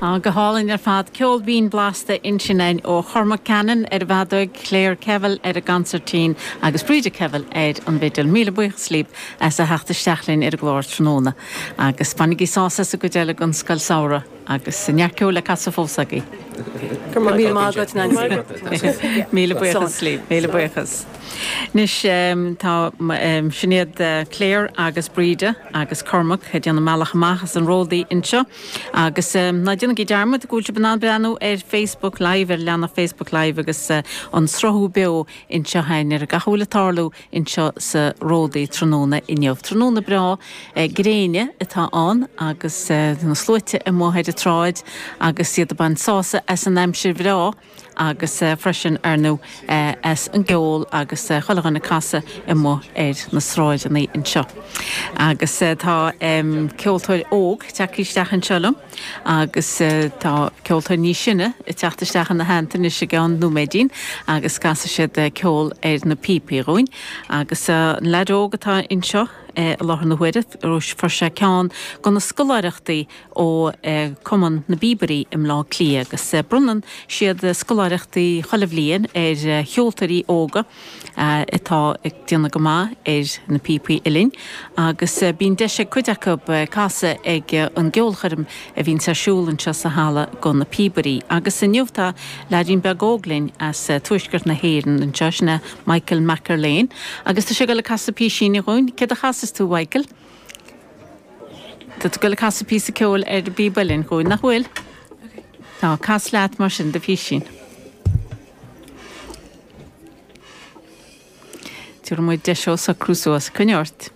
Á, go hálainn ar fad. Ceol binn blasta ansin againn ó Chormac Cannon ar an bhfeadóig, Claire Kevill ar an gconsairtín agus Breda Kevill ar an bhfidil. Míle buíochas libh as a theacht isteach linn ar an gclár tráthnóna agus bainigí sásamh as an gcuid eile den scoil samhraidh agus neart ceoil le casadh fós agaibh. Go raibh míle maith agat, Nancy. Míle buíochas libh. Míle buíochas. Anois tá, sin iad Claire agus Breda agus Cormac ag déanamh a mbealach amach as an Ródaí anseo agus ná déanaigí dearmad go bhfuil sibh in ann breathnú ar Facebook Live, ar leathanach Facebook Live agus an sruthú beo anseo againn ar gach a bhfuil ag tarlú anseo sa Ródaí tráthnóna inniu. Tráthnóna breá gréine atá ann agus na sluaite amuigh ar an tsráid agus iad ag baint sásamh as an aimsir bhreá. agus freisin, ar ndóigh, as an gceol agus chuile dhuine ag casadh amuigh ar na sráideanna anseo. Agus tá ceoltóir óg tagtha isteach anseo liom agus tá ceoltóir níos sine ag teacht isteach ina theannta anois i gceann nóiméidín agus casfaidh siad ceol ar na píopaí dhúinn. Agus an leaid óg atá anseo i láthair na huaire, fuair sé ceann de na scoláireachtaí ó Cumann na bPíobairí i mBleá Cliath agus bronnann siad scoláireachtaí chuile bhliain ar cheoltóirí óga atá ag déanamh go maith ar na píopaí uilleann agus bíonn deis ag cuid acu casadh ag an gceolchoirm a bhíonns ar siúl anseo sa halla go na píobairí. Agus inniu tá leaidín beag óg linn as tuaisceart na hÉireann anseo, sin é Michael McErlane agus tá sé ag dul ag casadh písín dhúinn. Céard a chasfas tú, Mhichael? Tá tú ag dul ag casadh píosa ceoil ar an bpíob uilleann dhúinn, nach bhfuil? Tá, cas leat mar sin do phísín. Tabharfaidh muid deis dó socrú suas. Coinnigh ort.